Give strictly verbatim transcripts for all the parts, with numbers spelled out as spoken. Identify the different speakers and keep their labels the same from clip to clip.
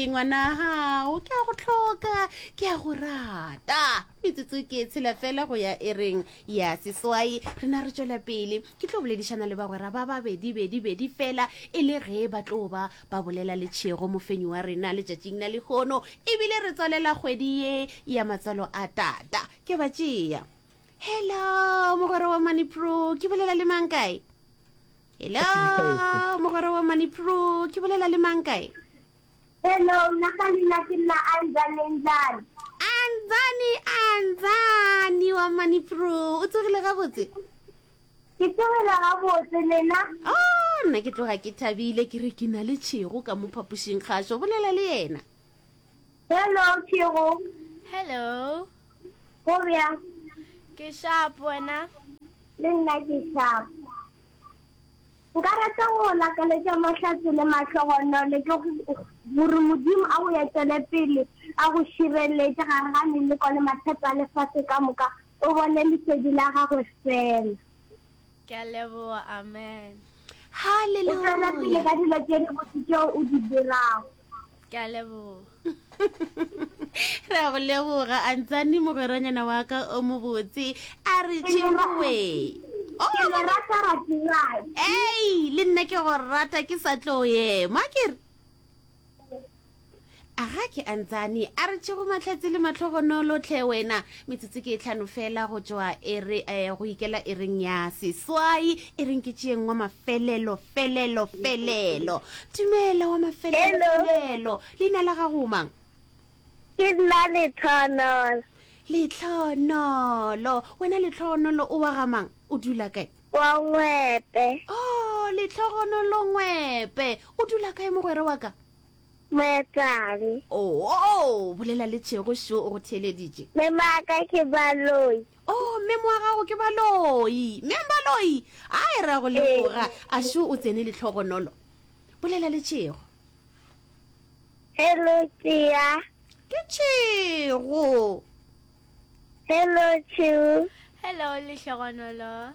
Speaker 1: Ke ngwana gago, ke a go hloka, ke a go rata. Metsotso ke e tshela fela go ya ereng ya seswai. Rena re tšwela pele. Ke tlo boledišana le bagwera ba babedi bedi bedi fela e le ge ba tlo ba ba bolela le Tšhego mofenyi wa rena letšatšing la lehono. Ebile re tswalela kgwedi ye ya matswalo a tata. Ke ba tšea. Hello, mogwera wa Money Pro, ke bolela le mang kae? Hello, mogwera wa Money Pro, ke bolela le mang kae?
Speaker 2: Hello, nna ka leina ke nna Anzani Nzani.
Speaker 1: Anzani, Anzani wa Money Pro, o tsogile gabotse?
Speaker 2: Ke tsogile gabotse, lena?
Speaker 1: Oh, nna ke tloga ke thabile, ke re ke na le Tšhego ka mo phapošing kgašo, bolela le yena.
Speaker 2: Hello, Tšhego.
Speaker 3: Hello.
Speaker 2: Go bjang?
Speaker 3: Ke sharp, wena?
Speaker 2: Le nna ke sharp. Nka rata go go lakaletša mahlatse le mahlogonolo ke gore Modimo a go etele pele, a go šireletše gare ga meleko le mathata a lefase ka moka, o bone lesedi la gagwe fela.
Speaker 3: Ke a leboga, amen.
Speaker 2: O tšwele pele
Speaker 1: Hallelujah.
Speaker 2: ka dilo tše dibotse tšeo o di dirago.
Speaker 3: Ke a leboga.
Speaker 1: Re a go leboga, Antsani, mogweranyana wa ka o mobotse. A re
Speaker 2: Ke le ra-
Speaker 1: tšeoe.
Speaker 2: ke le
Speaker 1: Oh,
Speaker 2: rata rati-rati.
Speaker 1: ei, le nna ke go rata ke sa tlo ema ke re. A ga ke Antsani, a re tšego mahlatse le mahlogonolo tlhe wena. Metsotso ke e tlhano fela go tšwa ere eh, go ikela ereng ya seswai, e reng ke tšeeng wa mafelelo felelo felelo. Dumela wa mafelelo
Speaker 2: Hello,
Speaker 1: felelo. Leina la gago o mang?
Speaker 2: ke nna Lethonolo
Speaker 1: Letlhonolo. Wena Letlhonolo o wa ga mang? O dula kae?
Speaker 2: wa Ngwepe,
Speaker 1: Oh, Letlhogonolo Ngwepe. O dula kae mogwera wa ka?
Speaker 2: Moetsane.
Speaker 1: Oh, oh, bolela le Tšhego šo o go theeleditše.
Speaker 2: Mme wa ka ke Baloi.
Speaker 1: Oh, mme wa gago ke Baloi. Mme Baloi. Ai, re a go
Speaker 2: Ee.
Speaker 1: leboga. A šo o tsene Letlhogonolo. Bolela le Tšhego.
Speaker 2: Hello, Tia.
Speaker 1: Ke Tšhego.
Speaker 2: Hello, Tšhego.
Speaker 3: Hello, Lehlogonolo.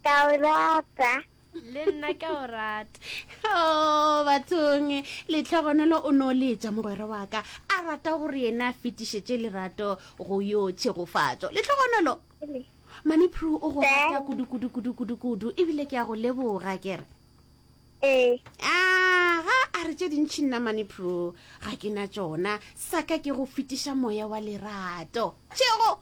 Speaker 2: Ka o rata.
Speaker 3: Le nna ke a o rata.
Speaker 1: Oh, bathong, Lehlogonolo o no letša mogwera wa ka a rata gore yena a fetišetše lerato go yo tšhegofatšo. Lehlogonolo, Mani Pro o go rata kudu kudu kudu kudu kudu ebile ke a go leboga ke re.
Speaker 2: Ee.
Speaker 1: Aga, a re tše dintši nna Mani Pro ga ke na tšona, sa ka ke go fetiša moya wa lerato. Tšhego,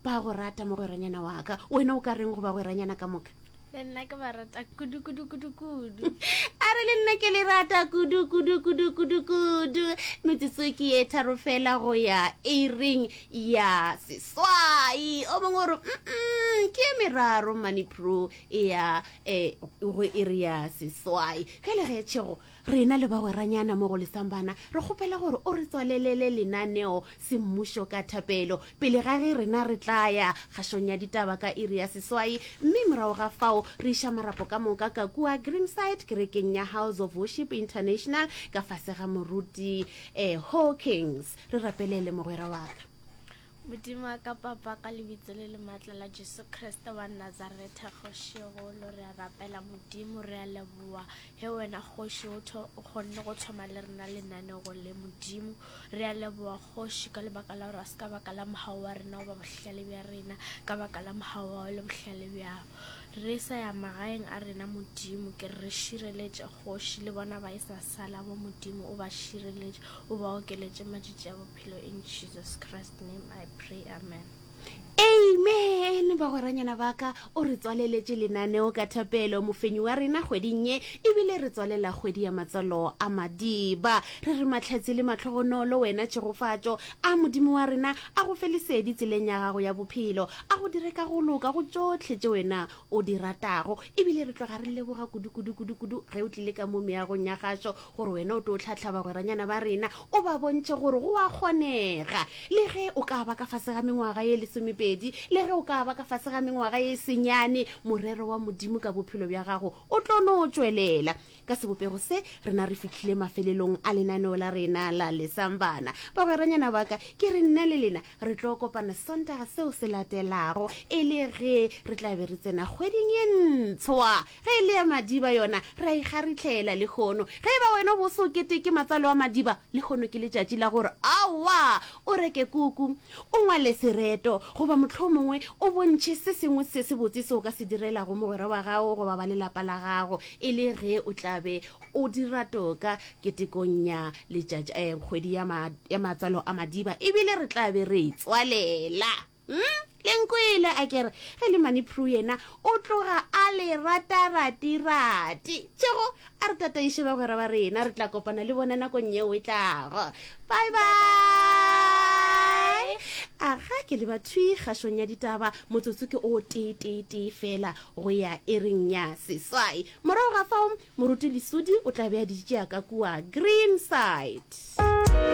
Speaker 1: ba go rata mogweranyana wa ka, wena o ka reng go bagweranyana ka moka?
Speaker 3: Le nna ke ba rata kudu kudu kudu kudu.
Speaker 1: A re le nna ke le rata kudu kudu kudu kudu kudu. Metsotso ke ye tharo fela go ya ering ya seswai. O mongwe o re mm ke ye meraro Money Pro e ya eh, go iri ya seswai. Ge le ge Tšhego rena le bagweranyana mo go Lesambana re kgopela gore o re tswalelele lenaneo semmušo ka thapelo pele ga ge rena re tla ya kgašong ya ditaba ka iri ya seswai, mme morago ga fao re iša marapo ka moka ka kua Greenside kerekeng ya House of Worship International ka fase ga moruti eh, Hawkins. Re rapelele mogwera wa ka.
Speaker 3: Modimo wa ka papa ka lebitso le le maatla la Jesu Kriste wa Nazaretha kgoši golo re a rapela Modimo re a leboa he wena kgoši o tho- o kgonne go thoma le rena lenanego le Modimo re a leboa kgoši ka lebaka la gore a se ka baka la mogau wa rena goba bohlale bja rena ka baka la mogau wa le bohlale bjago re sa ya magaeng a rena Modimo ke re šireletše kgoši le bona ba e sa sala bo Modimo o ba šireletše o ba okeletše matšatši a bophelo in Jesus Christ name I pray amen.
Speaker 1: Amen bagweranyana ba ka o re tswaleletše lenaneo ka thapelo mofenyi wa rena kgweding ye ebile re tswalela kgwedi ya matswalo a madiba re re mahlatse le mahlogonolo wena tšhegofatšo a modimo wa rena a go fe lesedi tseleng ya gago ya bophelo a go dire ka go loka go tšohle tše wena o di ratago ebile re tloga re leboga kudu kudu kudu kudu ge o tlile ka mo meagong ya gašo gore wena o tlo tlhatlha bagweranyana ba rena o ba bontšhe gore go a kgonega le ge o ka ba ka fase ga mengwaga ye lesomepedi le ge o ka ba ka fase ga mengwaga ye senyane morero wa modimo ka bophelo bja gago o tlo no tšwelela ka Ka sebopego se, rena re fihlile mafelelong a lenaneo la rena la Lesambana. Bagweranyana ba ka, ke re nna le lena re tlo kopana Sontaga seo se latelago, e le ge re tla be re tsena kgweding ye ntshwa. Ge e le ya Madiba yona, re a e kgaritlhela lehono. Ge e ba wena o bo se o keteke matswalo a Madiba, lehono ke letšatši la gore aowa, o reke kuku, o ngwale sereto, goba mohlomongwe o bontšhe se sengwe se sebotse se o ka se direlago mogwera wa gago goba ba lelapa la gago, e le ge o tla be o dira toka ketekong ya letšatši, eh, kgwedi ya, ma, ya matswalo a Madiba, ebile re tla be re e tswalela. Hmm? Le nkwele a kere ge le Mane Prue yena o tloga a le rata-rati-rati. Tšego a re tataiše bagwera ba rena, re tla kopana le bona nakong yeo e tlago. Bye bye. Aga ke leba thwi kgašong ya ditaba, motsotso ke o tee tee tee fela go ya iring ya seswai. Morago ga fao, Moruti Lesudi o tla be a di tšea ka kua Greenside.